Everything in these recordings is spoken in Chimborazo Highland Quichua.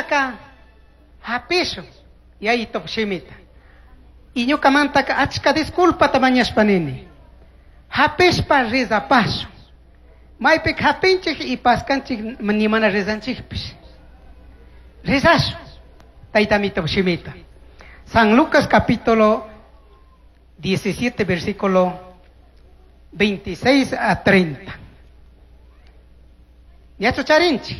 Shinaka hapishun Yayitupaj shimita. Y ñukamantaka achka disculpata mañashpa nini. Hapishpa rezapashun. Maypika hapinchik y paskanchik ni mana rezanchikpish. Rezashun Tayta Amito shimita. San Lucas capítulo 17, versículo 26 a 30. Ñachu charinchik.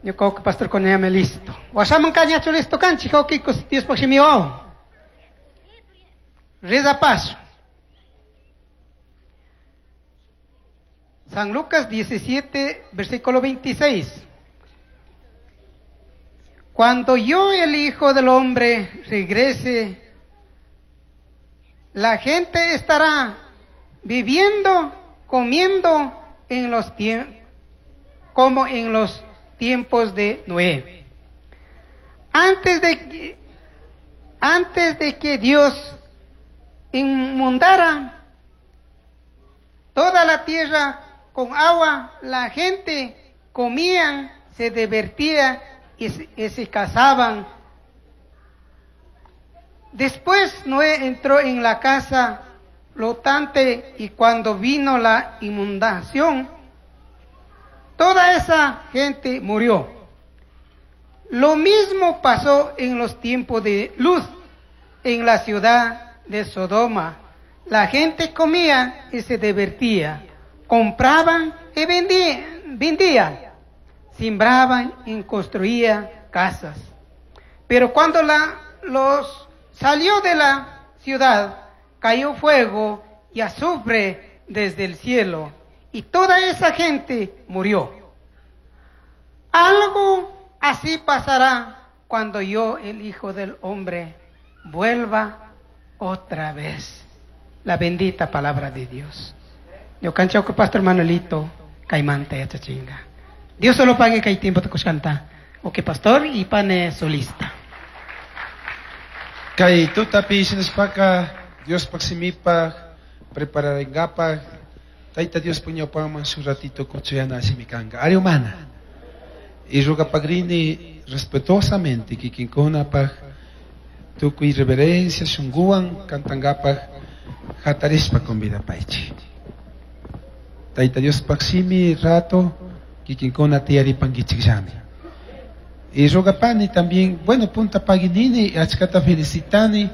Ñuka pastor ñami listo. Washaman ka ñachu listo kanchik, wawqikus Diospaj shimiwan. Rezapashun. San Lucas 17, versículo 26. Cuando yo, el Hijo del Hombre, regrese, la gente estará viviendo, comiendo en los como en los tiempos de Noé. Antes de que Dios inundara toda la tierra con agua, la gente comía, se divertía y se casaban. Después Noé entró en la casa flotante y cuando vino la inundación, toda esa gente murió. Lo mismo pasó en los tiempos de Luz en la ciudad de Sodoma. La gente comía y se divertía, compraban y vendían, sembraban y construían casas. Pero cuando los salió de la ciudad, cayó fuego y azufre desde el cielo, y toda esa gente murió. Algo así pasará cuando yo, el Hijo del Hombre, vuelva otra vez. La bendita palabra de Dios. Yo cancho que Pastor Manuelito kaymanta yachachinga. Dios solo pague kay tiempo te canta. Ok, pastor y pane solista. Kay tutapi shinashpaka Dios paksimipa prepararingapaj Tayta Dios puñawpaman shuk ratito kuchuyana shimikanga. Ari humana. Y rugapagrini respetuosamente kikinkunapaj tukuy reverencia shunguwan kantangapaj hatarishpa convidapaychik. Tayta Dios paksimi rato kikinkuna tiyaripankichikllami. Y rugapani también, bueno, punta paginini, achkata felicitani,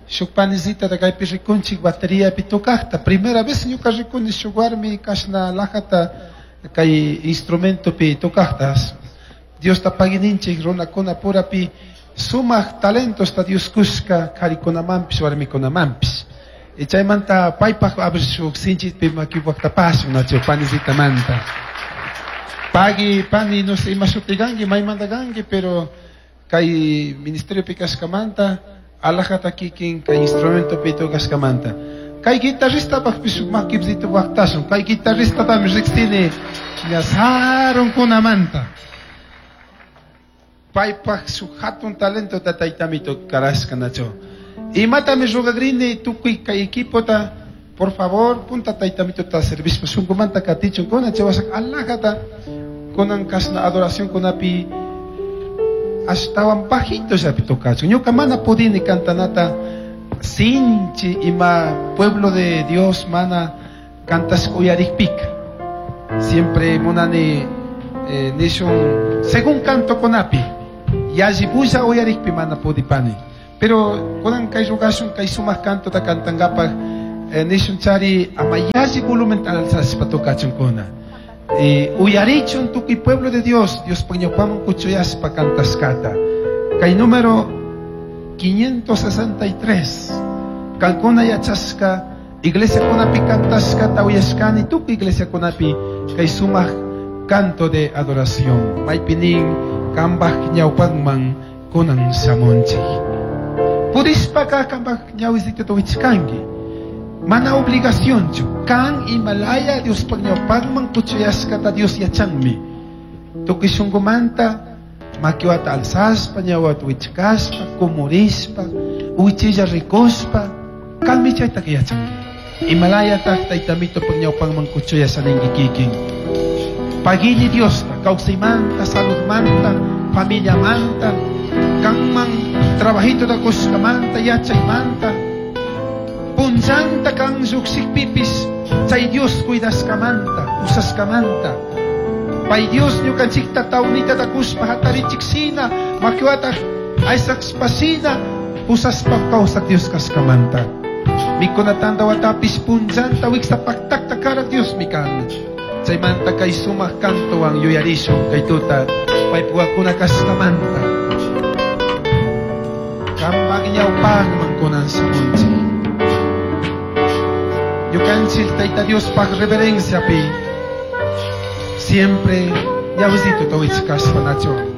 shuk panisita da kaypi rikunchik bateria tocajta. Primera vez ñuka rikuni shuk warmi kashna lajata kay instrumento pi tocajtas. Dios ta pagininchik runakuna purapi sumaq talentos ta Dios kushka karikunamanpish warmikunamanpish. Y chaymanta paypaj abrir shuk sinchitpi makiwaqtapash nacho panisita manta. Pagi pani no sé ima shutiganki maymanta kanki, pero kay ministerio pi kashkamanta alajata kikin kay instrumento pi tocashkamanta. Kay guitarrista pajpish makipsito waqtashun. Kay guitarrista tami riqsini ñasarunkunamanta. Paypaj shuk hatun talento ta taytamito karashka nacho. Imatami rugagrini tukuy kay equipota, por favor, punta taytamito ta servishpa shunkumanta katichun kuna chawashak alajata kunan kashna adoración kunapi ashtawan bajito llapi tocachun. Ñuka mana pudini cantanata sinchi ima pueblo de Dios mana cantas uyarikpika. Siempre munani nishun según canto kunapi yalli bulla uyarikpi mana pudipani. Pero kunan kay rugashun kay sumaq canto ta kantangapaj nishun chari ama yalli volumen alzashpa tocachun kuna. Uyarichun tukuy pueblo de Dios, Dios pañapaman kuchuyaspa cantascata. Kay número 563. Kankuna yachasca, iglesia kunapi cantascata uyashkani, tukuy iglesia kunapi kay sumaq canto de adoración. Maypinin kambaj ñawpanman kunan shamunchik. Pudishpaka kambaj ñawisito tuwichkanki. Mana obligación chu. Kan Himalaya Dios pagñawpanman kuchuyashkata Dios yachanmi. Tukuy shunqumanta makiwata alzaspa, ñawata wichkaspa, kumurishpa, wichilla rikuspa, kanmi chayta yachanki. Himalaya taq taytamito pagñawpanman kuchuyashaninki kikin. Pagili Diosta. Kawsaymanta, saludmanta, familiamanta, kanman trabajito kushkamanta, yachaymanta, punllanta kan llukshikpipis chay Dios cuidashkamanta, usashkamanta. Pay Dios ñukanchikta tawnita takushpa hatarichikshina, makiwata aysaqshpashina, pusashpa kawsaq Dios kashkamanta. Mikunatanta watapis punllanta wiksapaktakta karak Diosmi kan. Chaymanta kay sumaq kantuwan yuyarishun kay tuta paypuwakuna kashkamanta. Kampak ñawpaqman kunan shamunchik. Ñukanchik Tayta Diospaq reverenciapi siempre ñawsito tawichkashpa nacho.